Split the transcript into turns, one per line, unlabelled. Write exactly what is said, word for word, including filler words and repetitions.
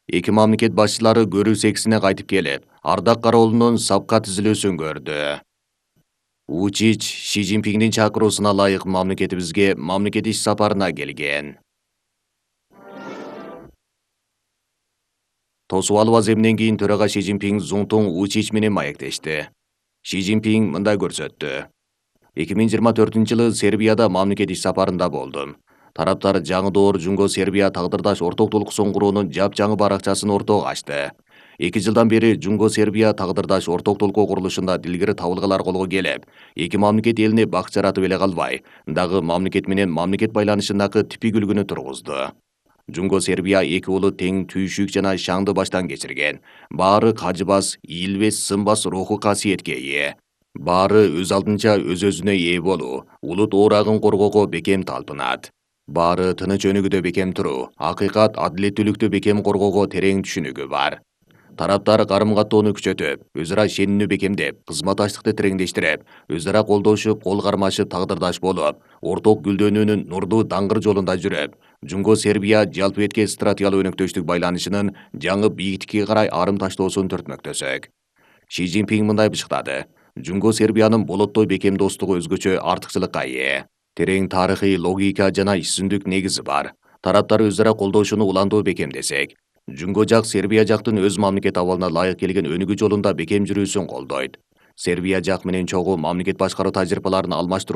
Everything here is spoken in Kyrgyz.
Эки мамлекет башчылары көрүү сексине кайтып келип, Ардак Кароолунун сапка түзүлүүсүн көрдү. Вучич Ши Цзиньпиндин чакыруусуна ылайык мамлекетибизге мамлекет иш сапарына келген. Тосуп алуу аземинен кийин төрага Ши Цзиньпин Зунтун Вучич менен маектешти. Ши Цзиньпин мындай көрсөттү. эки миң жыйырма төртүнчү жылы Сербияда мамлекет иш сапарында болдум. Тараптар жаңы доор Жунго Сербия тагдырдаш ортоктулук соңгуруунун жапжаңы баракчасын ортого ачты. Эки жылдан бери Жунго Сербия тагдырдаш ортоктулук курулушунда дилгири табылгалар колго келип, эки мамлекет элине бак жаратып эле калбай, дагы мамлекет менен мамлекет байланышындагы типикүлгүнү тургузду. Жунго Сербия эки уулу тең түйшүк жана шаңды баштан кечирген. Баары кажыбас, ийилбес, сынбас руху касиетке ээ. Баары өз алдынча өз-өзүнө ээ болуу, улут оорагын коргоого бекем талпынат. Баары тыныч өнүгүүдө бекем туруу, акыйкат, адилеттүүлүктү бекем коргоого терең түшүнүгү бар. Тараптар карым-каттоону күчөтүп, өз ара ишенимди бекемдеп, кызматташтыкты тереңдештирип, өз ара колдошуп, кол кармашып тагдырдаш болуп, орток гүлдөнүүнүн нурдуу даңгыр жолунда жүрүп, Жунго Сербия жалпыбетке стратегиялык өнөктөштүк байланышынын жаңы бийиктикке карай арым таштоосун төртмөктөсөк. Ши Цзиньпин мындай бышкады. Жунго Сербиянын болоттой бекем достугу өзгөчө артыкчылыкка ээ. Терең тарыхый логика жана ишсүндүк негизи бар. Тараптар өз ара колдошууну улантуу бекемдесек, Жунго жак Сербия жактын өз мамлекет абалына ылайык келген өнүгүү жолунда бекем жүрүүсүн колдойт. Сербия жак менен чогуу мамлекет башкаруу тажрыйбаларын алмаштыруу